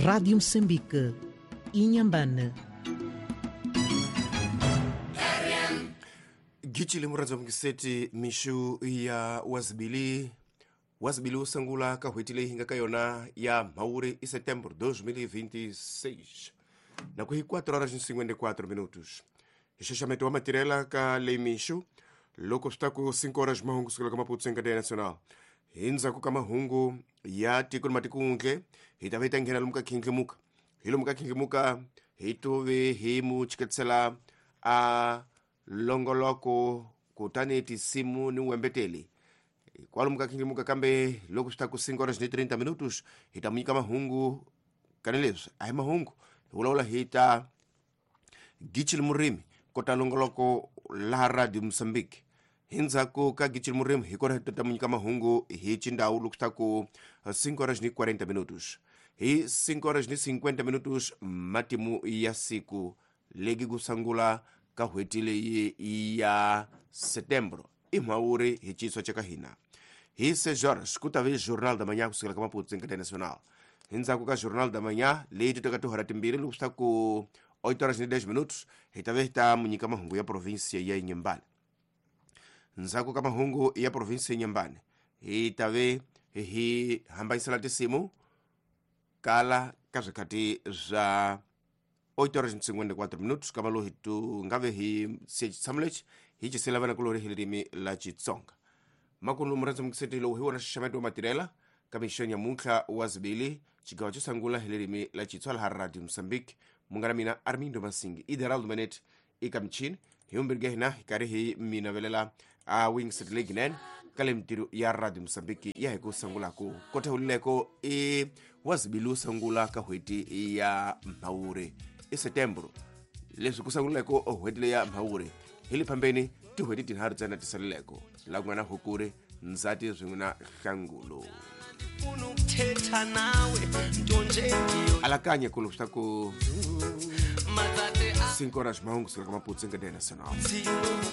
Rádio Moçambique, Inhambane. Gichile muradzi wa mukiseti mixu ya wazibili wazibili usangula ka n'hweti leyi hi nga ka yona ya mhawuri i setembro 2026 na ku hi 4 horas ni 54 minutos hi xaxameto wa matirhela ka leyi mixu loko swi ta ku 5 horas mahungu sukela ka Maputo Cadeia Nacional. Hi ndzhaku ka mahungu ya tiko ni matiko-handle hi ta va hi ta nghena lomu ka khindlimuka hi lomu ka khindlimuka hi tuve hi mu chiketisela a longoloko kutani tinsimu ni wembeteli kwalomu ka khindlimuka kambe loko swi ta ku 5 horas ni 30 minutos hi ta mu nyika mahungu kani leswi a hi mahungu hi vulavula hi ta Gichili Murimi kota longoloko laha Radio Mozambique. Hi ndzhaku ka Gichili Murimi hi kona hi ta mu nyika mahungu hi xindhawu loko swi ta ku 5 horas ni 40 minutos. Hi 5 horas ni 50 minutos matimu ya siku legi ku sungula ka n'hweti leyi ya setembro i mhawuri hi xiswa xa ka hina. Hi 6 horas ku ta ve Jornal da Manhã kusukela ka Maputo Cadeia Nacional. Hi ndzhaku ka Jornal da Manhã leyi ti teka tihora timbirhi loko swi ta ku 8 horas ni 10 minutos hi ta ve hi ta mu nyika mahungu ya provinsia ya Inhambane. Ndzhaku ka mahungu ya provinsia ya Inhambane hi ta ve hi hambanyisela tinsimu kala ka swikhathi swa 8 horas ni 54 minutos kava lowu hi tu nga ve hi se xitshamo lexi hi cisela vana kulori hi ririmi la Xitsonga. Makumu murhandzi mukiseti lowu hi wona xaxameto wa matirhela ka mixo nyamuntlha wa zibili xigawo xo sungula hi ririmi la Xitsonga laha Radio Mozambique. Munghana mina Armindo Masingi Ideraldo Manet eka michini hi vumbirhi ka hina hi karhi hi mi navelela a wingset leginene ka le mintirho ya Radio Mozambique ya hi ku sungulaku kota hulileko i wa zibili wo sungula ka n'hweti ya mhawuri i setembro leswi ku sunguleko n'hweti leya mhawuri hi le phambeni tin'hweti tinharhu ntsena ti saleleko la ku nga na hukuri ndzati swin'we na hlangulo. Ndifuna ukuthetha nawe nto nje ndiyo Alakanya ku swi ta ku matsatsi 5 horas mahungu sukela ka Maputo Cadeia Nacional. athini.